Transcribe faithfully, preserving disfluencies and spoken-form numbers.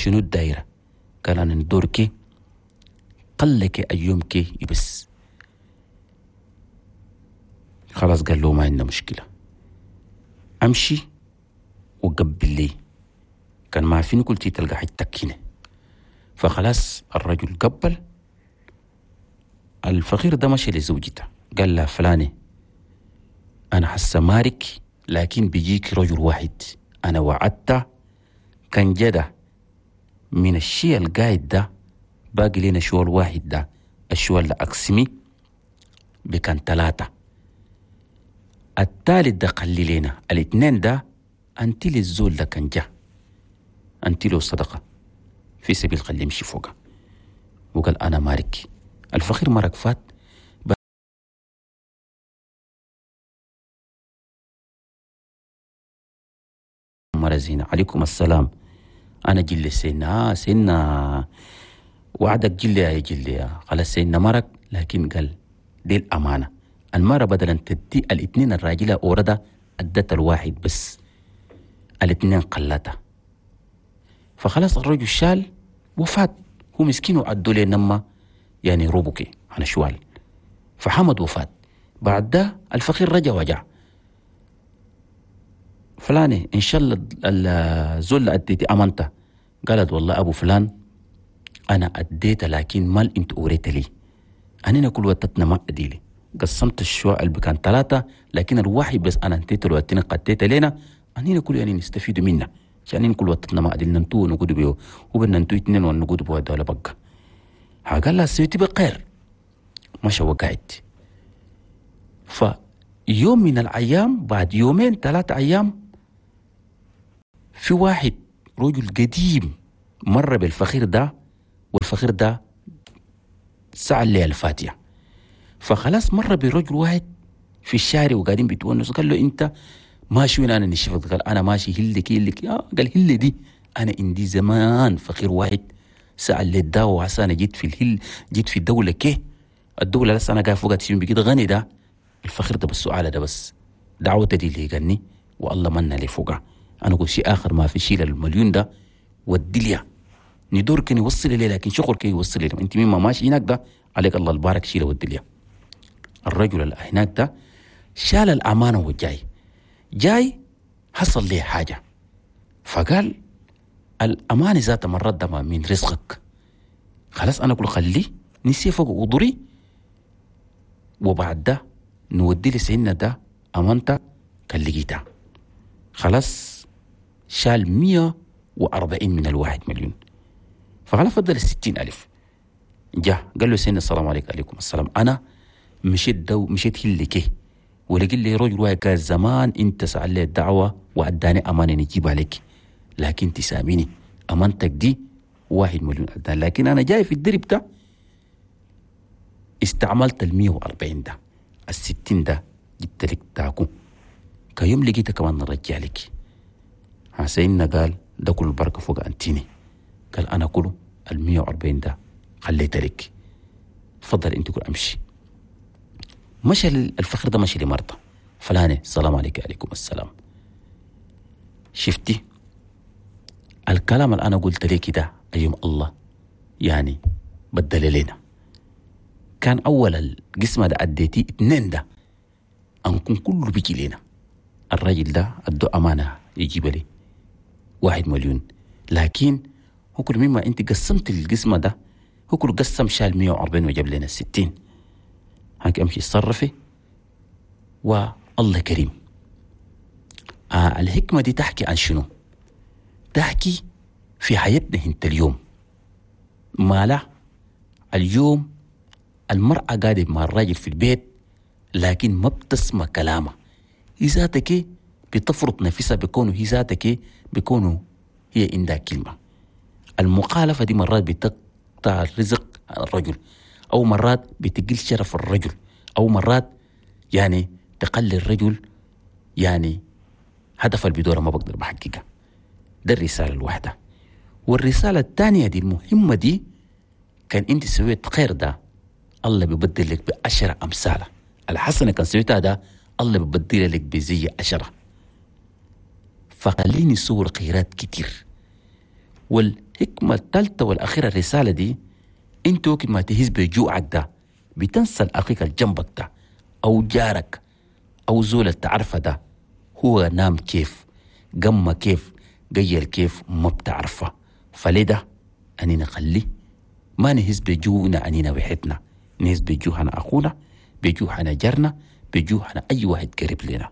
شنو الدايرة؟ قال أنا ندورك قلك أيومك يبس. خلاص قال له ما عندنا مشكلة، أمشي وقبل لي، كان ما فيني قلت تلقى حاجتك هنا. فخلاص الرجل قبل. الفقير ده مشي لزوجته قال لها فلانة أنا حاسة مارك، لكن بيجيك رجل واحد أنا وعدته كان جدا من الشيء القايد ده باقي لنا شوال واحد ده، الشوال ده أقسمي بكان ثلاثة، الثالث ده قلي لنا، الاثنين ده أنت للزول ده كان جا أنت له صدقة في سبيل خليه يمشي فوقه. وقال أنا مارك. الفقير مرق فات. مرة زينة عليكم السلام، أنا جلي سيدنا، آه سيدنا وعدك جلي يا جلي. خلاص سيدنا مرق، لكن قال دي الأمانة. المرة بدلا تدي الاثنين الراجلة أوردا أدت الواحد بس، الاثنين قلتها. فخلاص الرجل شال وفات، هو مسكين وعدوا لي نما يعني روبوكي على شوال. فحمد وفات. بعد ده الفقير رجع وجع فلاني إن شاء الله الزول اللي أديتي أمانته. قالت والله أبو فلان أنا أديته، لكن مال أنت أوريت لي، أنا كل وقتنا ما أديلي، قسمت الشواء اللي كان ثلاثة، لكن الواحد بس أنا انتيت الوقتين قديت لنا، أنينا كل يعني نستفيد منه، عشان كل وقتنا ما أديلنا نتو نقود بيه وبدنا نتو اثنين ونقود بيه الدولة بقى. قال لها سويتي بخير، مشى وقعت. فيوم من الأيام بعد يومين ثلاثة أيام في واحد رجل قديم مر بالفخير ده، والفخير ده سأل لي الفاتحة. فخلاص مر برجل واحد في الشارع وقاعدين بيتونسوا، قال له انت ماشي وين؟ انا نشفت. قال انا ماشي هلك هلك. آه قال هل دي انا عندي زمان فقير واحد سأل لي الدواء، وعسى انا جيت في الهل، جيت في الدولة كي الدولة لسه انا قاعد فوقها تشيل بكده غني ده الفخير ده، بس سؤال ده بس دعوته دي اللي غني والله منا لي فوقها. انا قلت شيء اخر ما في شيء المليون ده ودي ندور كان يوصل لي، لكن شغل كان يوصل لي انت مين ما ماشي هناك ده عليك الله البارك شيله ودي. الرجل اللي هناك ده شال الامانه وجاي جاي حصل لي حاجه، فقال الامانه ذات مرات ده من رزقك، خلاص انا اقول خليه نسي فوق قدري، وبعد ده نودي لي سيدنا ده امانته كان لقيتها. خلاص شال مية وأربعين من الواحد مليون، فخلاص فضل الستين ألف. جاء قال له سيدنا السلام عليكم. عليكم السلام، أنا مشيت دو مشيت هلكي ولقيت لي رجل واحد قال زمان أنت سأل لي الدعوة وأداني أمانة نجيبها لك، لكن تساميني أمانتك دي واحد مليون أداني، لكن أنا جاي في الدرب ده استعملت المية وأربعين ده الستين ده جبت لك تاكو كيوم لقيتها كمان نرجع لك. سيدنا قال ده كل البركة فوق أنتيني، قال أنا كله المية وأربعين ده خليت لك، تفضل أنت كل أمشي. مشى الفخر ده مشي لمرضى فلانة السلام عليك. عليكم السلام. شفتي الكلام اللي أنا قلت لك ده أيام الله يعني بدل لنا، كان أول القسمة ده أديتي اتنين ده أنكم كله بيجي لنا. الراجل ده أدو أمانة يجيب لي واحد مليون، لكن هو كل مما أنت قسمت القسمة ده هو كل قسم شال مية وأربعين وجاب لنا الستين. هاك أمشي اتصرفي والله كريم. آه الحكمة دي تحكي عن شنو؟ تحكي في حياتنا انت اليوم. ما لا اليوم المرأة قاعدة مع الراجل في البيت لكن ما بتسمع كلامه، هي ذاتك بتفرض نفسها بكونه هي ذاتك بكونه هي عندها كلمة. المخالفة دي مرات بتقطع الرزق عن الرجل، أو مرات بتقل شرف الرجل، أو مرات يعني تقلل الرجل يعني هدف البدورة ما بقدر بحققها. ده الرسالة الواحدة. والرسالة الثانية دي المهمة دي، كان أنت سويت خير ده الله بيبدل لك بعشرة أمثالة. الحسنة كان سويتها ده الله بيبدل لك بزي عشرة. فخليني صور خيرات كتير. والحكمة الثالثة والأخيرة الرسالة دي، انت وقت ما تهز بجوعك ده بتنسى أخيك الجنبك ده أو جارك أو زول تعرفه ده، هو نام كيف، قم كيف، قيل كيف، ما بتعرفه. فلده أني نخليه ما نهز بجوعنا أنينا وحدنا، نهز بجوعنا أخونا، بجوعنا جارنا، بجوعنا أي واحد قريب لنا.